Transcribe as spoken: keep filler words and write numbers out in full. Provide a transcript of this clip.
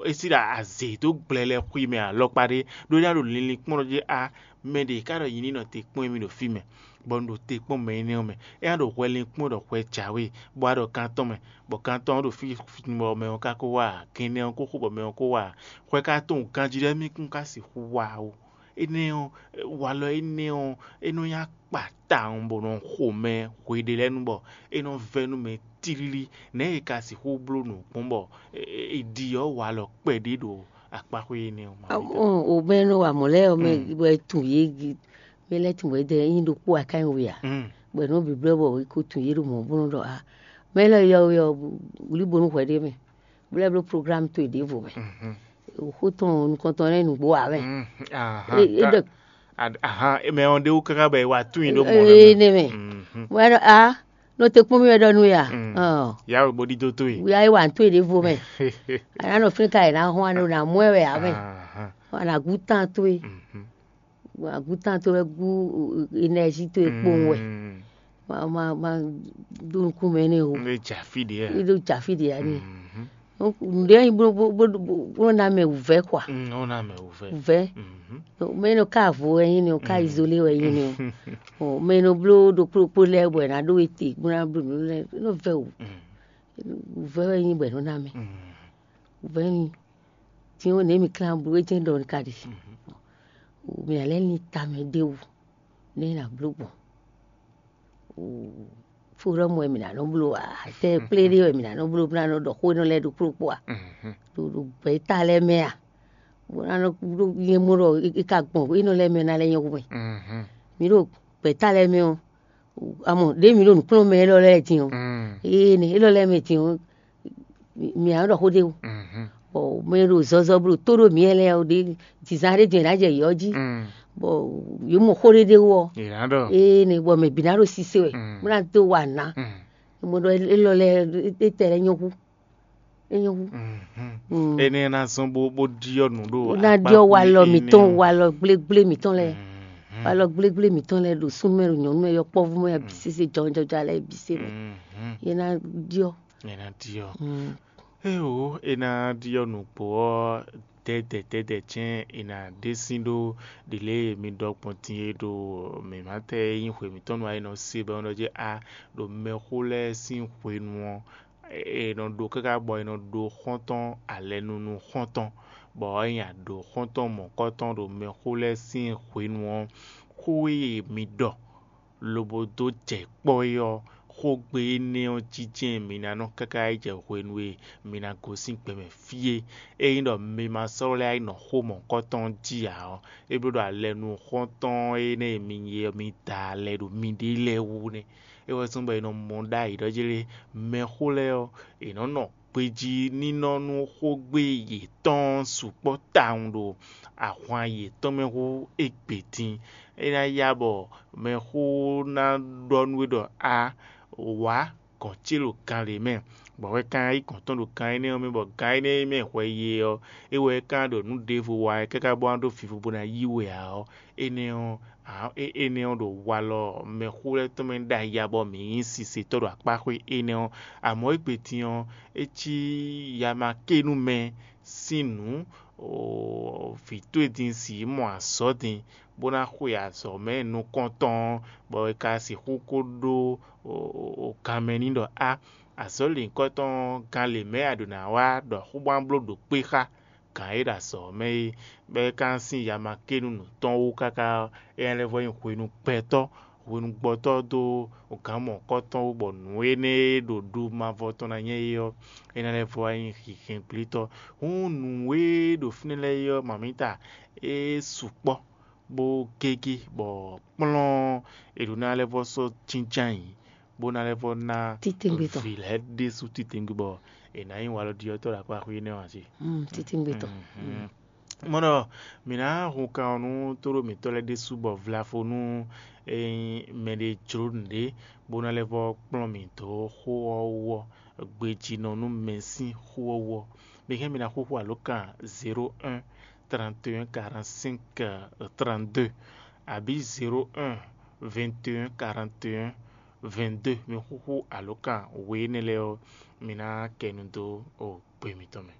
É sí ɖo azě dó gblɛ lɛ́ɛ xwí mɛ alɔkpa ɖé, ɖó é ná ɖo linlin kpɔ́n ɖɔ jí a mɛ ɖě ká ɖɔ nyi ní nɔ te kpɔ́n émí ɖo fí mɛ, bɔ un ɖo te kpɔ́n mɛ énɛ́ ɔ́ mɛ. É ná ɖo hwɛ linkpɔ́n ɖɔ hwɛ jǎwe, bɔ a ɖɔ kan tɔn mɛ, bɔ kan tɔn ɔ́ ɖo fí bɔ mɛ ɔ́ ka ko wá ǎ, gɛnnɛ ɔ́ ko xo bɔ mɛ ɔ́ ko wá ǎ. Hwɛ ka tɔn ganjí ɖɔ émí kún ka sixú wá ó. Énɛ́ ɔ́, walɔ énɛ́ ɔ́, é nɔ nyí akpa tawun bɔ nɔ xo mɛ hweɖé lɛ́ɛ nu bɔ é nɔ vɛ́ nú mɛ tlílí. Nɛ̌ è ka sixú bló nǔ gbɔn bɔ è ɖi ɔ́ walɔ kpɛɖé ɖo akpáxwé énɛ́ ɔ́? O mɛ nɔ wa mɔ̌ lɛ́ɛ ɔ́ mɛ wɛ tun yě mɛ lɛ́ɛ tun wɛ dɛ nyi ɖokpó akányí we ǎ. Bɔ nɔ bǐblɔ́ bɔ è ko tun yě ɖo mɔ̌ bó nɔ ɖɔ a mɛ lɛ́ɛ yɔ we ɔ́ wlí bónú hwɛ ɖé mɛ, bó lɛ́ bló programme towe ɖěvo mɛ. Xó tɔn nukɔntɔn lɛ́ɛ nǔgbó ǎ mɛ. É ɖɔ Ahan, mɛ ɔ́ ɖe wú káká bɔ è wa tún nyi ɖó mɔ lɛ́ɛ mɛ. Énɛ́ mɛ. Wɛ ɖɔ a nɔ te kpɔ́n mì wɛ ɖɔ nú ya. Yá wɛ bó ɖidó towe. Ya é wa nú towe ɖěvo mɛ. A nǎ nɔ fínɛ́ ka è nǎ hɔn a nɔ nǎ mɔ ɛ wɛ ǎ mɛ. A nǎ gú tán towe. Agúntán towe wɛ gú enɛ́zi towe kpowun wɛ. Ma ma ma ɖó nukún mɛ n'i o. Ní ɖó jǎ fí ɖě wɛ. Ní ɖó jǎ fí ɖě wɛ ní. Nǔɖé nyi bó bó bó bó ná mɛ wǔvɛ́ kɔa. Ó ná mɛ wǔvɛ́. Wǔvɛ́. Mɛ nɔ ká vo wɛ nyi ni o, ká izolé wɛ nyi ni o. Mɛ nɔ bló ɖokpó ɖokpó lɛ́ɛ bɔ è nǎ ɖó we te bó ná bló nǔ lɛ́ɛ nɔ vɛ o. Wǔvɛ́ wɛ nyi bɔ è nɔ ná mɛ. Wǔvɛ́ nyi. Din ɔ́, nɛ̌ mi klán bló é jɛ́n ɖɔ un ka ɖe? Mi ná lɛ́ lin tamɛ ɖ'é wú, nɛ̌ è nǎ bló gbɔn? Fóɖɔ́mɔ wɛ mǐ ná nɔ bló ǎ, tɛ kplé ɖé wɛ mǐ ná nɔ bló bó ná nɔ ɖɔ xó énɔ́ lɛ́ɛ ɖokpó ɖokpó a? Ɖo ɖo gbɛ̌ta lɛ́ɛ mɛ a? Bó ná nɔ ɖó nyɛ mɔ ɖɔ é ka gbɔn énɔ́ lɛ́ɛ mɛ ná lɛ́ nyɔ́ hu mɛ. Mǐ ɖo gbɛ̌ta lɛ́ɛ mɛ ɔ́, amɔ ɖěe mǐ ɖo nǔkplɔ́nmɛ élɔ́ lɛ́ɛ din ɔ́, ee nɛ élɔ́ lɛ́ɛ mɛ din ɔ́, mǐ ǎ nɔ ɖɔ xó ɖé o. Bɔ mɛ e ɖo zɔzɔ bó ɖo tó ɖó mǐ lɛ́ɛ ɔ́ ɖe dǐzán ɖé din è nǎ jɛ yě ɔ́ jí, bɔ yě mɔ xó ɖé ɖé wú ɔ́, ee nɛ bɔ mɛ bǐ ná ɖo sise wɛ, bó ná dó wa nǎ. Mɔ ɖɔ élɔ́ lɛ́ɛ étɛ́ lɛ́ɛ nyɔ́ hú, é nyɔ́ hú. Énɛ́ ná zɔ́n bó bó ɖyɔ́ nǔ ɖo ná ɖyɔ́ walɔ mǐtɔn, walɔ gblégblé mǐtɔn lɛ́ɛ, walɔ gblégblé mǐtɔn lɛ́ɛ ɖo súnnu mɛ ɖo nyɔ̌nu mɛ yɔkpɔ́vú mɛ bǐ sésé jɔnjɔnjɔ alɛ bǐ sé mɛ. Yě ná ɖyɔ́. Yě ná ɖyɔ́. Éwo é ná ɖyɔ́ nǔgbó ɔ́, dɛ̌dɛ̌ dɛ̌dɛ̌ cɛ́n è nǎ ɖe sín ɖó ɖě lě e mi ɖɔ gbɔn din é ɖo mǐmátɛ e nyí hwe mǐtɔn nu ɔ́, é nɔ se bɔ é nɔ ɖɔ jí a ɖo mɛxó lɛ́ɛ sín hwenu ɔ́, è nɔ ɖó káká bɔ è nɔ ɖó xɔ́ntɔn alɛnunu xɔ́ntɔn, bɔ é nyi aɖǒ xɔ́ntɔn mɔ̌kɔ́tɔn ɖo mɛxó lɛ́ɛ sín hwenu ɔ́, xó e mi ɖɔ lobo dó jɛ kpɔ́ é ɔ́, xógbe énɛ́ ɔ́ jínjɛ́n mi ná nɔ káká yi jɛ hwenu e mi ná gosín gbɛmɛ fí é. Ényí ɖɔ mi ma sɔ́ lɛ́ yi nɔ xó mɔ̌kɔ́tɔn jí ǎ ɔ́, é bló ɖɔ alɛnu xɔ́ntɔn énɛ́ e mi nyí ɔ́, mi da alɛ ɖo miɖée lɛ́ɛ wú nɛ́. É wɛ zɔ́n bɔ è nɔ mɔ ɖ'ayǐ ɖɔ jlé mɛxó lɛ́ɛ ɔ́, è nɔ́ nɔ gbejí nínɔ́ nú xógbe yětɔn sukpɔ́ tawun ɖo ahwan yětɔn mɛ hú égbé dín. É ná yá bɔ mɛxó ná ɖɔ nú we ɖɔ a wǎ gɔ̌n ce ɖo gan lě mɛ, bɔ hwɛ ka ná yí gɔ̌n tɔn ɖo gan énɛ́ ɔ́ mɛ, bɔ gan énɛ́ e mɛ hwɛ ye ɔ́, é wɛ é ka ná ɖɔ nǔ ɖěvo wa wɛ káká bó ná ɖó vivo bó ná yí we ǎ ɔ́, énɛ́ ɔ́, énɛ́ ɔ́ ɖo walɔ mɛxó lɛ́ɛ tɔn mɛ ɖ'ayǐ ǎ bɔ mǐ nyí sisetɔ́ ɖo akpáxwé énɛ́ ɔ́. Amɔ̌ égbé din ɔ́, é cí yamakénu mɛ sín nǔ, vǐ towe din sì yi mɔ azɔ̌ din, bó ná xwe azɔ̌ mɛ nukɔntɔn, bɔ è ka sixú ko ɖó ganmɛ n'i ɖɔ á, azɔ̌ lěhunkɔtɔn ɔ́, gan lě mɛ a ɖǒ ná wá ɖɔ xó bó ná bló ɖo kpé xá gǎn e ɖo azɔ̌ ɔ́ mɛ é, bɔ é ka ná sín yamakénu nǔ tɔn wú káká ɔ́, é ná lɛ́ vɔ́ nyí hwenu gbɛtɔ́, hwenu gbɔtɔ́ dó gǎn mɔ̌kɔtɔn wú, bɔ nǔ énɛ́ e ɖo ɖu mavɔ tɔn ná nyɛ é ɔ́, é ná lɛ́ vɔ́ wá nyí hinhɛngblétɔ́. Hǔn nǔ e ɖo fínɛ́ lɛ́ɛ é ɔ́, mamǐta, é sukpɔ́, bó gégé, bɔ kplɔ́n è ɖǒ ná lɛ́ vɔ́ sɔ́ jínjɔ́n ayǐ, bó ná lɛ́ vɔ́ ná vǐ lɛ́ɛ ɖésú titewungbe bɔ è nǎ nyí walɔɖyɔ́tɔ́ ɖo akpáxwé énɛ́ ɔ́ ǎ ce. Titewungbe tɔn. Mɔ ɖɔ mǐ ná hun kan ɔ́ nú tóɖó mǐtɔn lɛ́ɛ ɖésú bɔ vlafo nú mɛɖé jló nǔɖé bó ná lɛ́ vɔ́ kplɔ́n mǐ dó xó ɔ́ wú ɔ́, gbejínɔ nú mɛ sín xó ɔ́ wú ɔ́. Mi hɛn mi ná xúxú alǒkan zéro un, trente et un, quarante-cinq, trente-deux, abǐ zéro un, vingt et un, quarante et un, vingt-deux. Mi xúxú alǒkan we énɛ́ lɛ́ɛ ɔ́, mi ná kɛ nu dó gbe mitɔn mɛ.